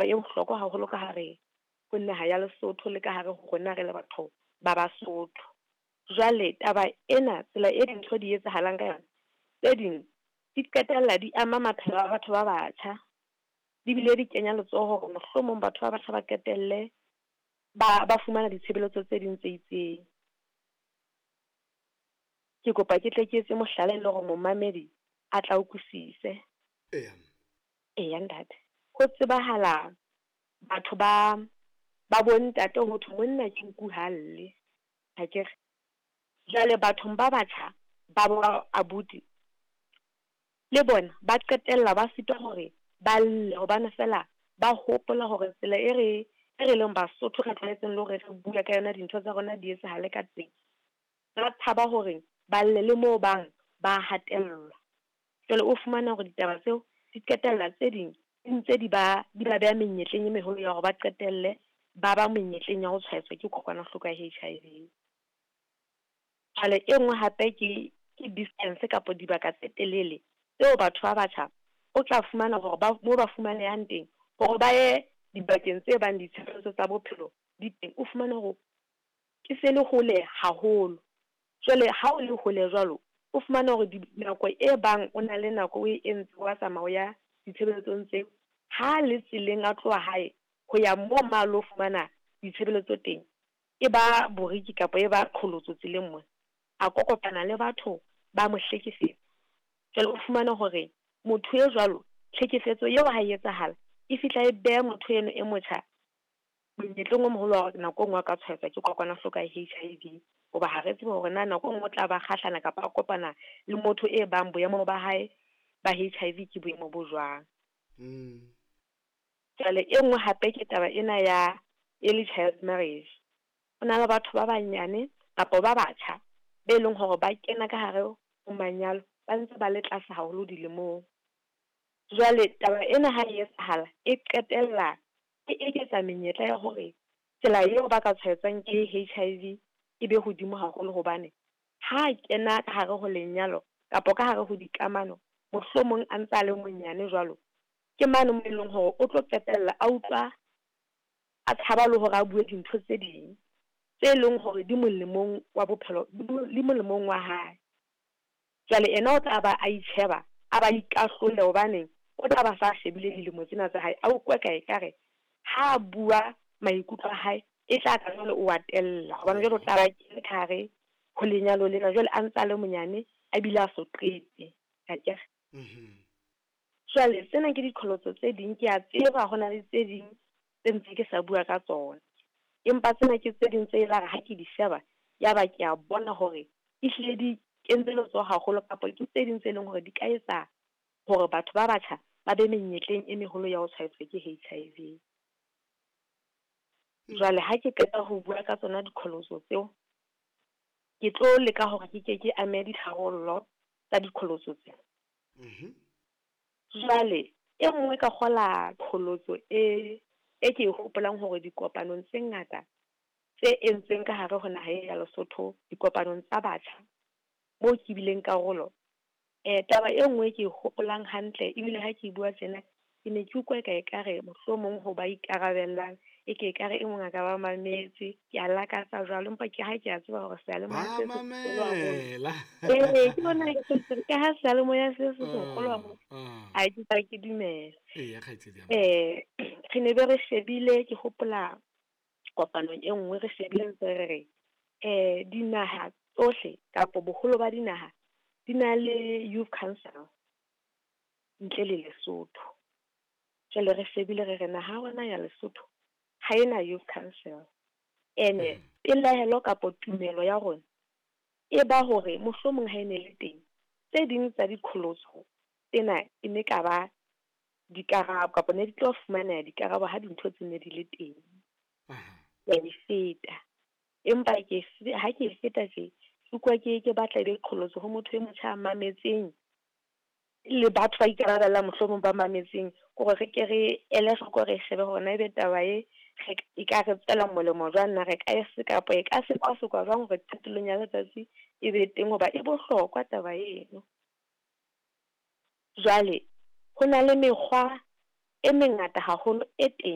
E bohlokwa haholo ka hare ho naha ya Lesotho le ka hare ho rona re le batho ba Basotho. Jwale taba ena, tsela e dintho di etsahalang ka yona, tse ding di qetella di ama maphelo a batho ba batjha, di bile di kenya letsoho hore mohlomong batho ba batjha ba qetelle ba fumana ditshebeletso tse ding tse itseng. Ke kopa ke tle ke etse mohlala e le hore momamedi a tla utlwisise. Eya. Eya ntate. Ho tsebahala batho ba bontate ho thwe monna ke nku ha lle, akere. Jwale bathong ba batjha ba bo abuti le bona ba qetella ba sitwa hore ba lle hobane fela ba hopola hore tsela e re leng Basotho re tlwaetseng le hore re bua ka yona dintho tsa rona di etsahale ka teng. Ba tshaba hore ba lle le moo bang ba hatellwa. Jwale o fumana hore ditaba tseo di qetella tse ding di ntse di ba beha menyetleng e meholo ya hore ba qetelle ba ba menyetleng ya ho tshwaetswa ke kokwanahloko ya HIV. Jwale e nngwe hape ke distance kapa dibaka tse telele tseo batho ba batjha o tla fumana hore ba mo ba fumanehang teng hore ba ye dibakeng tse bang ditshebeletso tsa bophelo di teng, o fumane hore ke se le hole haholo. Jwale ha o le hole jwalo, o fumane hore nako e bang o na le nako o e entse wa tsamaya o ya ditshebeletsong tseo, ha le tseleng a tloha hae ho ya mo ma lo fumana ditshebeletso teng, e ba boriki kapa e ba qholotso tseleng mona, a kopana le batho ba mo hlekefetsa. Jwale o fumane hore motho e jwalo, tlhekefetso eo ha e etsahala, e fihla e beha motho eno e motjha monyetleng o moholo wa hore nako e nngwe a ka tshwaetswa ke kokwanahloko ya HIV. Hoba ha re tsebe hore na nako e nngwe o tla ba kgahlana kapa a kopana le motho e bang boemo ba hae ba HIV ke boemo bo jwang. Jwale e nngwe hape ke taba ena ya early child marriage. Ho na le batho ba banyane kapa ba batjha be leng hore ba kena ka hare ho manyalo ba ntse ba le tlase haholo dilemong. Jwale taba ena ha e etsahala e qetella e eketsa menyetla ya hore tsela eo ba ka tshwaetswang ke HIV e be hodimo haholo, hobane ha kena ka hare ho lenyalo kapa ka hare ho dikamano, mohlomong a ntse a le monyane jwalo, ke mane mo e leng hore o tlo qetella a utlwa a tshaba le hore a bue dintho tse ding tse leng hore di molemong wa bophelo, di molemong wa hae. Jwale ena o tla ba a itjheba, a ba ikahlole hobane o tla ba sa shebile dilemo tsena tsa hae, a utlwe ka ekare ha a bua maikutlo a hae e tla ka jwale o a tella, hobane jwale o tla ba kene ka hare ho lenyalo lena, jwale a ntse a le monyane a bile a so qete, akere. Jwale tsena ke diqholotso tse ding, ke a tseba ho na le tse ding tse ntse ke sa bua ka tsona, empa tsena ke tse ding tse elare ha ke di sheba ya ba ke a bona hore ehlile di kentse letsoho haholo, kapa ke tse ding tse leng hore di ka etsa hore batho ba batjha ba be menyetleng e meholo ya ho tshwaetswa ke HIV. Jwale ha ke qeta ho bua ka tsona diqholotso tseo, ke tlo leka hore ke ke ke ame ditharollo tsa diqholotso tseo. Jwale e nngwe ka kgola qholotso e ke e hopolang hore dikopanong tse ngata tse entsweng ka hare ho naha ya Lesotho, dikopanong tsa batjha moo ke bileng karolo, taba e nngwe ke e hopolang hantle ebile ha ke bua tjena ke ne ke utlwa ka ekare mohlomong ho ba ikarabellang, e ke ekare e mong a ka ba mametse, ke a lakatsa jwalo, empa ke ha ke a tseba hore seyalemoya se seholo haholo. Ee, ke bona ke ha seyalemoya se seholo haholo, ha ke tla ke dumela. Eya, kgaitsedi ya Re ne be re shebile, ke hopola kopanong e nngwe re shebile ntse re re dinaha tsohle kapa boholo ba dinaha di na le youth council ntle le Lesotho. Jwale re shebile re re naha ya rona ya Lesotho ha ena youth council. Ene pelaelo kapa tumelo ya rona e ba hore mohlomong ha e ne le teng tse ding tsa diqholotso tsena e ne ka ba dikarabo kapa ne di tlo fumaneha dikarabo ha dintho tse ne di le teng. Ya e feta. Empa ke ha ke e feta tje, ke utlwa ke batla e be qholotso ho motho e motjha a mametseng le batho ba ikarabellang mohlomong ba mametseng, hore re ke re ele hloko, re shebe hore na ebe taba e e ka re tswela molemo jwang, na re ka e se kapa e ka sekwasekwa jwang hore qetellong ya letsatsi e be teng, hoba e bohlokwa taba eno. Jwale ho na le mekgwa e mengata haholo e teng.